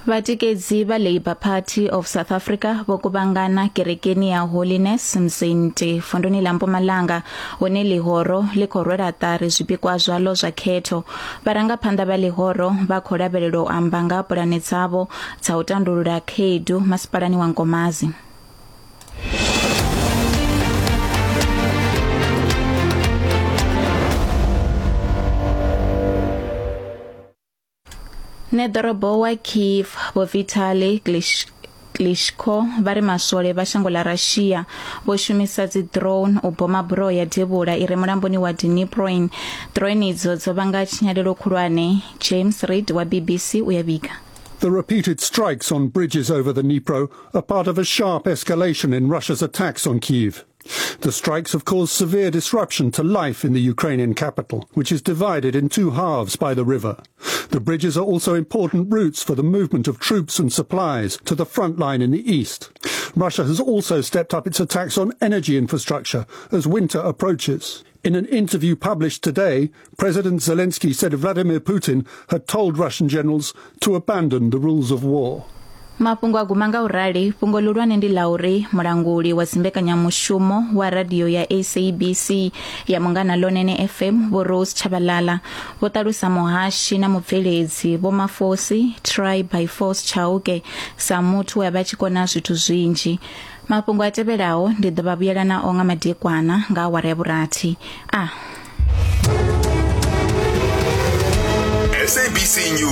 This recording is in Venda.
Vhatikedzi vha Labour Party of South Africa vho kuvhangana kerekeni ya Holiness Mzinti vunduni ḽa Mpumalanga hune ḽihoro ḽi khou rwela ṱari zwipikwa zwaḽo zwa khetho. Vharangaphanḓa vha ḽihoro vha khou lavhelelwa u amba nga ha pulane dzavho dza u tandulula khaedu masipalani wa Nkomazi. Ṋeḓorobo wa Kyiv Vho Vitali Klitschko vha ri maswole vha shango ḽa Russia vho shumisa dzi drone u boma buroho ya devhula i re mulamboni wa Dniproin. Drone idzo dzo vhanga tshinyalelo khulwane. James Reid wa BBC u ya vhiga. The repeated strikes on bridges over the Dnipro are part of a sharp escalation in Russia's attacks on Kyiv. The strikes have caused severe disruption to life in the Ukrainian capital, which is divided in two halves by the river. The bridges are also important routes for the movement of troops and supplies to the front line in the east. Russia has also stepped up its attacks on energy infrastructure as winter approaches. In an interview published today, President Zelensky said Vladimir Putin had told Russian generals to abandon the rules of war. Mafhungo a guma nga u rali fhungo ḽihulwane ndi ḽa uri mulanguli wa dzimbekanyamushumo wa radio ya SABC ya Munghana Lonene FM Vho Rose Tshabalala vho ṱalusa muhashi na mubveledzi Vho Mafosi Try by Force Chauke sa muthu we a vha tshi kona zwithu zwinzhi. Mafhungo a tevhelaho ndi ḓo vha vhuyela nao nga madekwana nga awara ya vhurathi. A. SABC News.